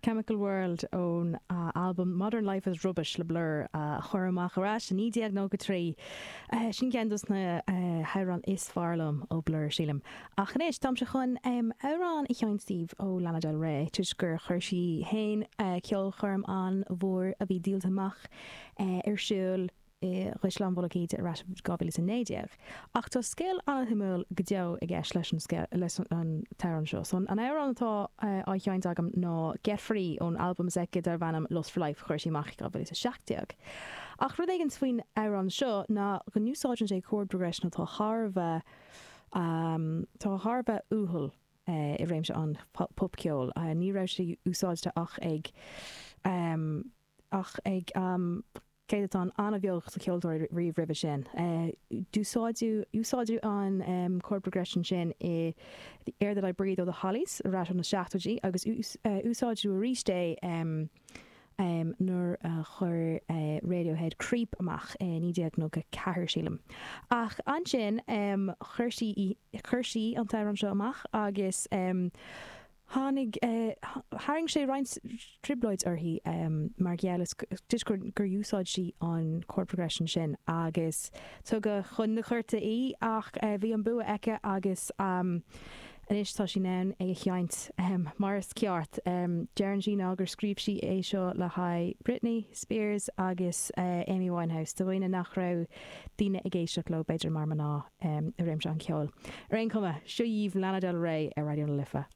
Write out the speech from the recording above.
Chemical World ón albam Modern Life is Rubbish le Blur a cuireadh amach ar ais i 1993. Sin ceann dos na hamhráin is fearr liom ó Blur, sílim. Ach anois, táimse chun amhrán a sheinnt daoibh ó Lana Del Rey, toisc gur chuir sí fhéin ceolchoirm an-mhór a bhí díolta amach ar siúl i gCaisleán Mhullach Íde ar ais i 2019. Ach tá scéal an-shuimiúil go deo i gceist leis an scéal, leis an t-amhrán seo. So an amhrán atá á sheinnt agam ná Get Free ón albam s'aici darb ainm Lust for Life a chuir sí amach i 2017. Ach rud éigin faoin amhrán seo ná go n-úsáideann sé chord progression atá thar a bheith, tá thar a bheith uathúil i réimse an popcheoil. Ní raibh sé úsáidte ach ag, ach ag céatadán an-bheag de cheoltóirí riamh roimhe sin. D'úsáideadh úsáideadh an chord progression sin i The Air That I Breathe ó The Hollies ar ais ó na seachtóidí agus úsáideadh arís é nuair a chuir Radiohead Creep amach i 1994, sílim. Ach ansin chuir sí chuir sí an t-amhrán seo amach agus Tháinig, tharraing sé roinnt trioblóid uirthi mar gheall is toisc gur úsáid sí an chord progression sin agus tugadh chun na cúirte í ach bhí an bua aici agus anois tá sí in ann é a sheinnt mar is ceart. Deireann sí ná gur scríobh sí é seo le haghaidh Britney Spears agus Amy Winehouse, do dhaoine nach raibh daoine ag éisteacht leo b'fhéidir mar mná i réimse an cheoil. Ar aon chuma, seo dhaoibh Lana Del Rey ar Raidió na Life.